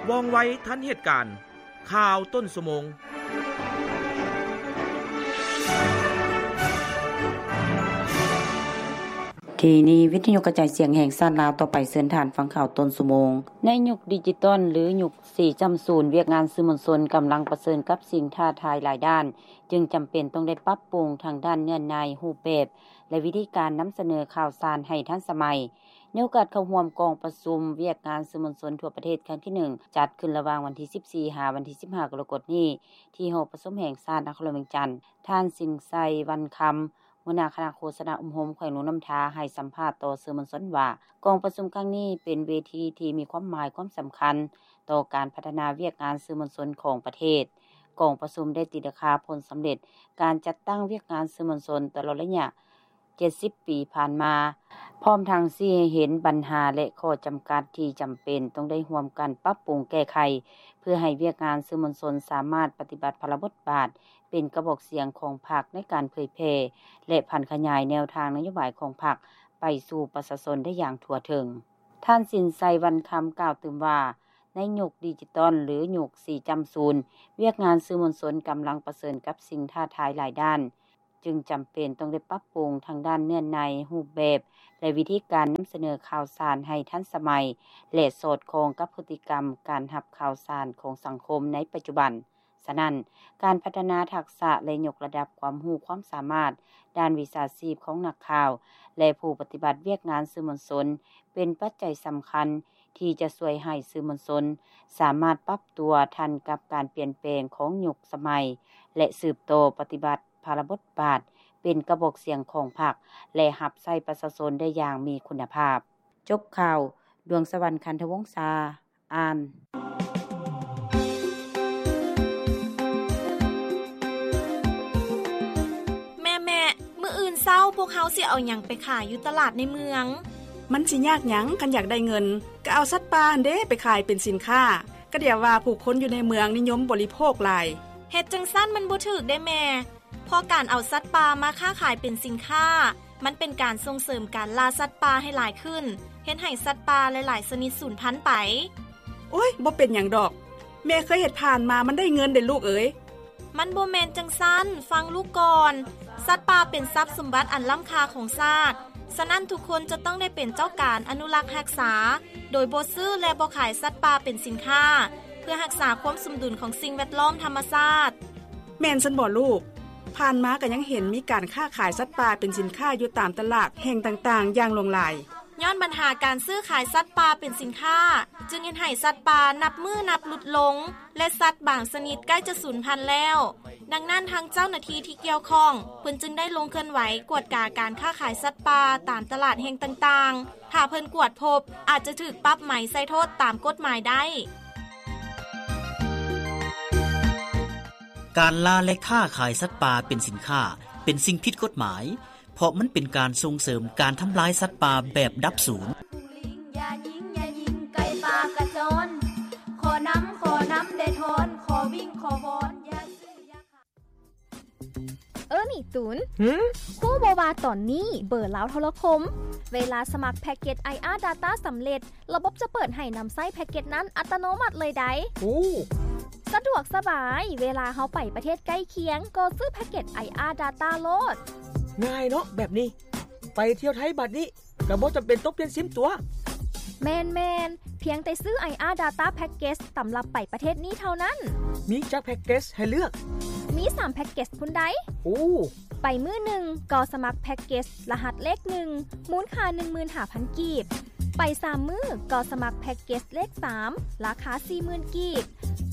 ວ່ອງໄວທັນເຫດການ. ຂ່າວຕົ້ນຊົ່ວໂມງ. ທີ່ນີ້ ວິທະຍຸກະຈາຍສຽງແຫ່ງຊາດລາວ. ຕໍ່ໄປເຊີນທ່ານຟັງຂ່າວຕົ້ນຊົ່ວໂມງ. ໃນຍຸກດິຈິຕອນ ຫຼື ຍຸກສີ່ຈ້ຳສູນ, ວຽກງານສື່ມວນຊົນກຳລັງປະເຊີນກັບສິ່ງທ້າທາຍຫຼາຍດ້ານ, ຈຶ່ງຈຳເປັນຕ້ອງໄດ້ປັບປຸງທາງດ້ານເນື້ອໃນ, ຮູບແບບ ແລະ ວິທີການນຳສະເໜີຂ່າວສານໃຫ້ທັນສະໄໝ. ໃນໂອກາດເຂົ້າຮ່ວມກອງປະຊຸມວຽກງານສື່ມວນຊົນທົ່ວປະເທດຄັ້ງທີໜຶ່ງ ຈັດຂຶ້ນລະຫວ່າງວັນທີສິບສີ່ ຫາວັນທີສິບຫ້າ ກໍລະກົດນີ້ ທີ່ຫໍປະຊຸມແຫ່ງຊາດນະຄອນຫຼວງວຽງຈັນ, ທ່ານ ສິນໄຊ ວັນຄຳ, ຫົວໜ້າຄະນະໂຄສະນາອົບຮົມແຂວງຫຼວງນ້ຳທາ ໃຫ້ສຳພາດຕໍ່ສື່ມວນຊົນວ່າ ກອງປະຊຸມຄັ້ງນີ້ເປັນເວທີທີ່ມີຄວາມໝາຍຄວາມສຳຄັນຕໍ່ການພັດທະນາວຽກງານສື່ມວນຊົນຂອງປະເທດ. ກອງປະຊຸມໄດ້ຕີລາຄາຜົນສຳເລັດການຈັດຕັ້ງວຽກງານສື່ມວນຊົນຕະຫຼອດໄລຍະ ເຈັດສິບປີຜ່ານມາ, ພ້ອມທັງຊີ້ໃຫ້ເຫັນບັນຫາ ແລະ ຂໍ້ຈຳກັດທີ່ຈຳເປັນຕ້ອງໄດ້ຮ່ວມກັນປັບປຸງແກ້ໄຂ ເພື່ອໃຫ້ວຽກງານສື່ມວນຊົນສາມາດປະຕິບັດພາລະບົດບາດເປັນກະບອກສຽງຂອງພັກໃນການເຜີຍແຜ່ ແລະ ຜັນຂະຫຍາຍແນວທາງນະໂຍບາຍຂອງພັກໄປສູ່ປະຊາຊົນໄດ້ຢ່າງທົ່ວເຖິງ. ທ່ານ ສິນໄຊ ວັນຄຳ ກ່າວຕື່ມວ່າ ໃນຍຸກດິຈິຕອນ ຫຼື ຍຸກສີ່ຈ້ຳສູນ, ວຽກງານສື່ມວນຊົນກຳລັງປະເຊີນກັບສິ່ງທ້າທາຍຫຼາຍດ້ານ. ຈຶ່ງຈຳເປັນຕ້ອງໄດ້ປັບປຸງທາງດ້ານເນື້ອໃນ, ຮູບແບບ ແລະ ວິທີການນຳສະເໜີຂ່າວສານໃຫ້ທັນສະໄໝ ແລະ ສອດຄ່ອງກັບພຶດຕິກຳການຮັບຂ່າວສານຂອງສັງຄົມໃນປັດຈຸບັນ. ສະນັ້ນ, ການພັດທະນາທັກສະ ແລະ ຍົກລະດັບຄວາມຮູ້ຄວາມສາມາດດ້ານວິຊາຊີບຂອງນັກຂ່າວ ແລະ ຜູ້ປະຕິບັດວຽກງານສື່ມວນຊົນ ເປັນປັດໄຈສຳຄັນທີ່ຈະຊ່ວຍໃຫ້ສື່ມວນຊົນສາມາດປັບຕົວທັນກັບການປ່ຽນແປງຂອງຍຸກສະໄໝ ແລະ ສືບຕໍ່ປະຕິບັດ ພາລະບົດບາດເປັນກະບອກສຽງຂອງພັກ ແລະ ຮັບໃຊ້ປະຊາຊົນໄດ້ຢ່າງມີຄຸນນະພາບ. ຈົບຂ່າວ, ດວງສະຫວັນ ຄັນທະວົງສາ ອ່ານ. ແມ່ໆ, ມື້ອື່ນເຊົ້າພວກເຮົາຊິເອົາຫຍັງໄປຂາຍຢູ່ຕະຫຼາດໃນເມືອງ? ມັນຊິຍາກຫຍັງ ຄັນຢາກໄດ້ເງິນ, ກໍເອົາສັດປ່າຫັ້ນເດ້ໄປຂາຍເປັນສິນຄ້າ. ກະດຽວວ່າຜູ້ຄົນຢູ່ໃນເມືອງນິຍົມບໍລິໂພກຫຼາຍ. ເຮັດຈັ່ງຊັ້ນມັນບໍ່ຖືກເດ້ແມ່. ເພາະການເອົາສັດປ່າມາຄ້າຂາຍເປັນສິນຄ້າ, ມັນເປັນການສົ່ງເສີມການລ່າສັດປ່າໃຫ້ຫຼາຍຂຶ້ນ, ເຮັດໃຫ້ສັດປ່າຫຼາຍໆຊະນິດສູນພັນໄປ. ໂອ້ຍ, ບໍ່ເປັນຫຍັງດອກ. ແມ່ເຄີຍເຮັດຜ່ານມາ, ມັນໄດ້ເງິນເດ້ລູກເອີຍ. ມັນບໍ່ແມ່ນຈັ່ງຊັ້ນ, ຟັງລູກກ່ອນ. ສັດປ່າເປັນຊັບສົມບັດອັນລ້ຳຄ່າຂອງຊາດ, ສະນັ້ນທຸກຄົນຈະຕ້ອງໄດ້ເປັນເຈົ້າການອະນຸລັກຮັກສາ, ໂດຍບໍ່ຊື້ ແລະ ບໍ່ຂາຍສັດປ່າເປັນສິນຄ້າ, ເພື່ອຮັກສາຄວາມສົມດຸນຂອງສິ່ງແວດລ້ອມທຳມະຊາດ. ແມ່ນຊັ້ນບໍລູກ? ຜ່ານມາກໍຍັງເຫັນມີການຄ້າຂາຍສັດປ່າເປັນສິນຄ້າຢູ່ຕາມຕະຫຼາດແຫ່ງຕ່າງໆຢ່າງຫຼວງຫຼາຍ. ຍ້ອນບັນຫາການຊື້ຂາຍສັດປ່າເປັນສິນຄ້າ, ຈຶ່ງເຮັດໃຫ້ສັດປ່ານັບມື້ນັບຫຼຸດລົງ ແລະ ສັດບາງຊະນິດໃກ້ຈະສູນພັນແລ້ວ. ດັ່ງນັ້ນ, ທາງເຈົ້າໜ້າທີ່ທີ່ກ່ຽວຂ້ອງ ເພິ່ນຈຶ່ງໄດ້ລົງເຄື່ອນໄຫວກວດກາການຄ້າຂາຍສັດປ່າຕາມຕະຫຼາດແຫ່ງຕ່າງໆ. ຖ້າເພິ່ນກວດພົບ, ອາດຈະຖືກປັບໃໝໃສ່ໂທດຕາມກົດໝາຍໄດ້. ການລ່າ ແລະ ຄ້າຂາຍສັດປ່າເປັນສິນຄ້າ ເປັນສິ່ງຜິດກົດໝາຍ, ເພາະມັນເປັນການສົ່ງເສີມການທຳລາຍສັດປ່າແບບດັບສູນ. ເອີ ນີ້ຕູນ, ຫື? ຮູ້ບໍ່ວ່າຕອນນີ້ເບີລາວໂທລະຄົມ ເວລາສະໝັກແພັກເກັດ ໄອອາ Data ສຳເລັດ, ລະບົບຈະເປີດໃຫ້ນຳໃຊ້ແພັກເກັດນັ້ນອັດຕະໂນມັດເລີຍໃດ໋. ໂອ້ ສະດວກສະບາຍ, ເວລາເຮົາໄປປະເທດໃກ້ຄຽງ ກໍຊື້ແພັກເກັດ ໄອອາ Data ໂລດ. ງ່າຍເນາະແບບນີ້, ໄປທ່ຽວໄທບາດນີ້ ກໍບໍ່ຈຳເປັນຕ້ອງປ່ຽນຊິມຕົວ໋. ແມ່ນໆ, ພຽງແຕ່ຊື້ ໄອອາ Data Package ສຳລັບໄປປະເທດນີ້ເທົ່ານັ້ນ. ມີຈັກແພັກເກັດໃຫ້ເລືອກ? ມີສາມແພັກເກັດພຸ້ນໃດ໋. ໂອ້ ໄປມື້ໜຶ່ງກໍສະໝັກແພັກເກັດລະຫັດເລກໜຶ່ງ ມູນຄ່າໜຶ່ງໝື່ນຫ້າພັນກີບ. ໄປສາມມື້ກໍສະໝັກແພັກເກັດເລກສາມ ລາຄາສີ່ໝື່ນກີບ.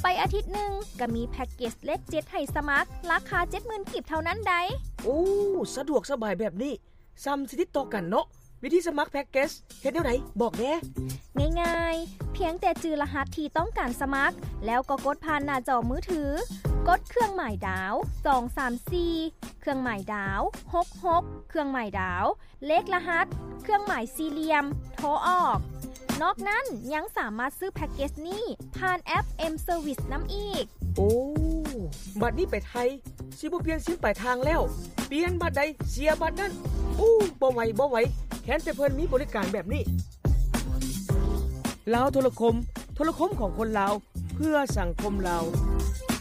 ໄປອາທິດໜຶ່ງກໍມີແພັກເກັດເລກເຈັດໃຫ້ສະໝັກ ລາຄາເຈັດໝື່ນກີບເທົ່ານັ້ນໃດ໋. ໂອ້ ສະດວກສະບາຍແບບນີ້. ສ່ຳຊິຕິດຕໍ່ກັນເນາະ. ວິທີສະໝັກແພັກເກັດເຮັດແນວໃດ? ບອກແດ່. ງ່າຍໆ, ພຽງແຕ່ຈື່ລະຫັດທີ່ຕ້ອງການສະໝັກ, ແລ້ວກໍກົດຜ່ານໜ້າຈໍມືຖື, ກົດເຄື່ອງໝາຍດາວ ສອງສາມສີ່ ເຄື່ອງໝາຍດາວ ຫົກຫົກ ເຄື່ອງໝາຍດາວ ເລກລະຫັດ ເຄື່ອງໝາຍສີ່ຫຼ່ຽມ ໂທອອກ. ນອກນັ້ນຍັງສາມາດຊື້ແພັກເກັດນີ້ຜ່ານແອັບ M Service ນຳອີກ. ໂອ້ ບັດນີ້ໄປໄທ ຊິບໍ່ປ່ຽນຊິມປາຍທາງແລ້ວ, ປ່ຽນບັດໃດເສຍບັດນັ້ນ. ໂອ້ ບໍ່ໄຫວ ບໍ່ໄຫວ, ແຄ້ນແຕ່ເພິ່ນມີບໍລິການແບບນີ້. ລາວໂທລະຄົມ ໂທ ໂທລະຄົມຂອງຄົນລາວ ເພື່ອສັງຄົມລາວ.